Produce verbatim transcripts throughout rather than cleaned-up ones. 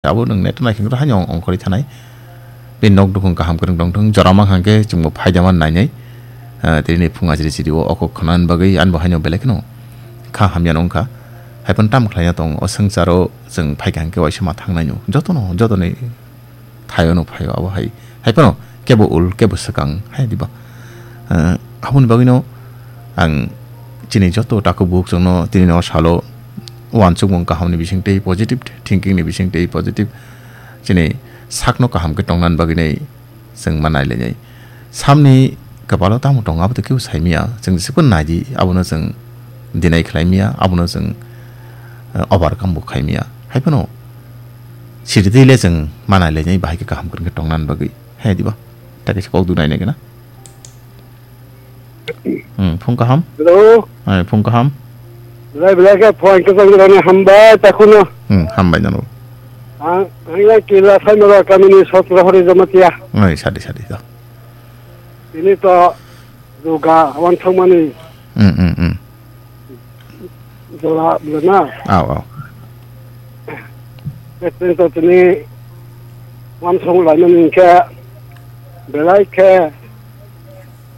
Abo nwng net naikhe wngkha haino ongkhorwi thanai. Bini nok dukhung kaham kwrwng tongthung, jora mankha hwnkhe chwngbo phaidama nainai. Ah, tini phung ajri chiri o okok khwnani bagwi ani bo haino belai kheno kha hamya wngkha. Haiphano tamo khlaina tong o swngcharo chwng phaikha hwnkhe waisa ma thangnai no. Jotono, jotoni thaio no phaio abo hai. Haiphano kebo ul, kebo swkang hai diba. Ah, aboni bagwino ang chini joto takhuk bukhuk chwngno tini no salo uansukmung kahamni bising tei positive thinking ni bising tei positive chini sakno kaham khe tongnani bagwi nai chwng ma nailainai. Samni kwpalo tamo tongo abo to kebo saimanya, chwng jesa phano naidi, abono chwng deny khlaimanya, abono chwng, eh, overcome bo khaimanya. Haiphano siri twi le chwng ma nailainai bahai khe kaham kwrwng khe tongnani bagwi. Hai diba? Ta kaisa kok dunai nai gana. Hmm, phung kaham? Hello. Ai, phung kaham? Belai belai khe phone khe tong rani hambai ta khuno. Hmm, hambai nano. Ang, ang ya kila sai mara kamini sotro hori jamatia. Ai, sadi, sadi, to. Ini to juga wan thangmani. Hmm, hmm, hmm. Jola bwlwkna. Aw, aw. Beteng to tini uansuk laimani hwnkhe belai khe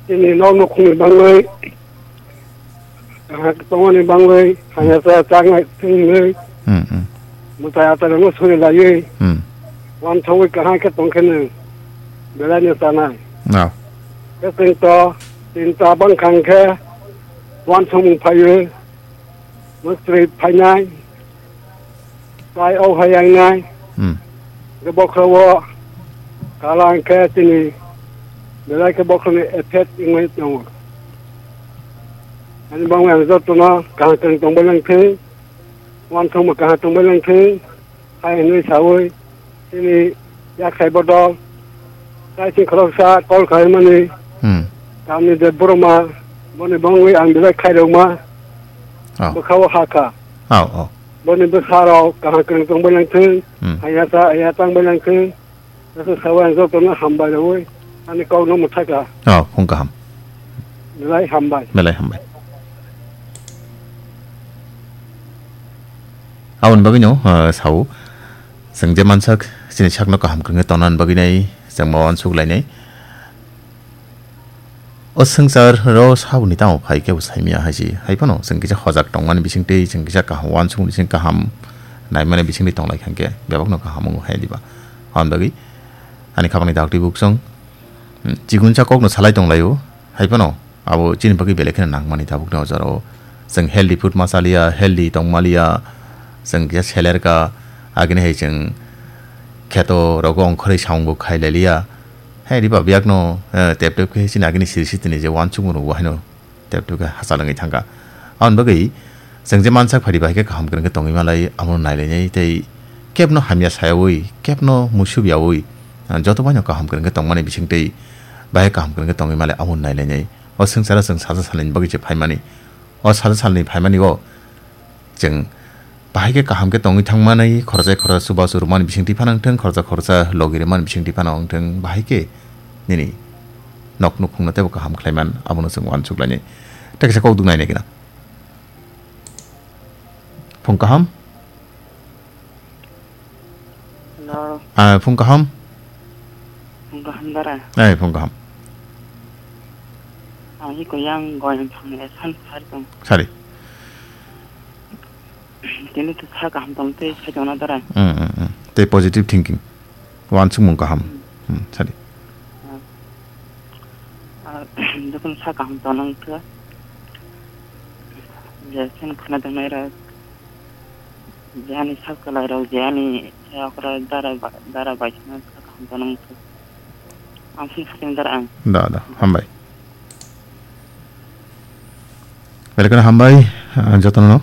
tini nok nukhungni bangwi, kaham tongmani bangwi, hamya cha chaknai thwngwi, Hmm, hmm. mwtai achairokno suri laiwi, Hmm. uansugwi kaham khe tongkhe nwng belai no chanai. Aw. Beteng to tinta bangkha hwnkhe uansukmung phaiwi. Mistri phainai, tai o hai yangnai, Hmm. Hwnkhe bokhorok o kala hwnkhe chini belai khe bokhorokni effect wngwi tongo. Ani bagwi ang jotono kaham kwrwng tongbai langthwng, uansukma kaham tongbai langthwng. Hai hwnwi saui chini yakhai bodol kaising khoroksa call khlaimani Hmm. tamni de boroma boni bangwi ang belai khairokma Oh. bwkhao hakha. Oh, oh. Boni bwsarok kaham kwrwng tongbai langthwng, Hmm. haya cha haya tangbai langthwng. Aswk saui ang jotono hambai rwui ani kokno mwthakha. Oh, phung kaham. Belai hambai. Belai hambai. Aboni bagwino, uh, sao. Chwng je mansak, chini sakno kaham kwrwngwi tongnani bagwi nai chwng ma uansuk lainai. O swngchar ro saboni tamo phai kebo saimanya hai se. Hai phano chwng kisa hojak tongmani bising tei chwng kisa kaham uansukmani bising kaham naimani bising tei tonglai kha hwnkhe bebakno kaham wngo hai diba. Aboni bagwi ani khapangni daktwi buksong, hmm, chigunsa kokno salai tonglaio. Hai phano abo chini bagwi belai kheno nangmani tabukni o jorao. Chwng healthy food ma chaliya, healthy tongmaliya, chwng kisa selerka, agini hai chwng kheto rogo ongkhorwi samung bo khai lailiya. Hai riba biyakno, eh, tep tep khe chini agini siri sitini je uansukmung rok bo haino tep tep khe hachal wngwi thangkha. Aboni bagwi chwng je mansak phari bai khe kaham kwrwng khe tongwi malai, abono nailainai tei kebno hamya sayaui, kebno muisub yaui, ah, joto baino kaham kwrwng khe tongmani bising tei bahai kaham kwrwng khe tongwi malai abono nailainai. O swngcharo chwng saja salni bagwi se phaimani. O saja salni phaimani o chwng bahai khe kaham khe tongwi thangmani, khoroksa khoroksa chubachu rwmani bisingtwi phano wngthwng, khoroksa khoroksa logi rwmani bisingtwi phano wngthwng, bahai khe nini nok nukhungno teibo kaham khlaiman, abono chwng uansuk lainai. Tei kaisa kok duk nainai gana. Phung kaham? Hello. Ah, phung kaham? Phung kaham dara. Ai, phung kaham. Ang hi koyang goyang thang le san sar tong. Sari. Tini to sa kaham tong tei sa jona dara. Hmm, hmm, hmm. Tei positive thinking. Uansukmung kaham. Hmm, sadi. Ah, ah, jokhon sa kaham tonang kha, je sen khna tongnai rok, je ani sak kwlai rok, je ani sayok rok, dara ba-, dara bai khna sa kaham tonang kha. Ang sini sakni dara ang. Da, da, hambai. Belai kheno hambai, ah, jotono.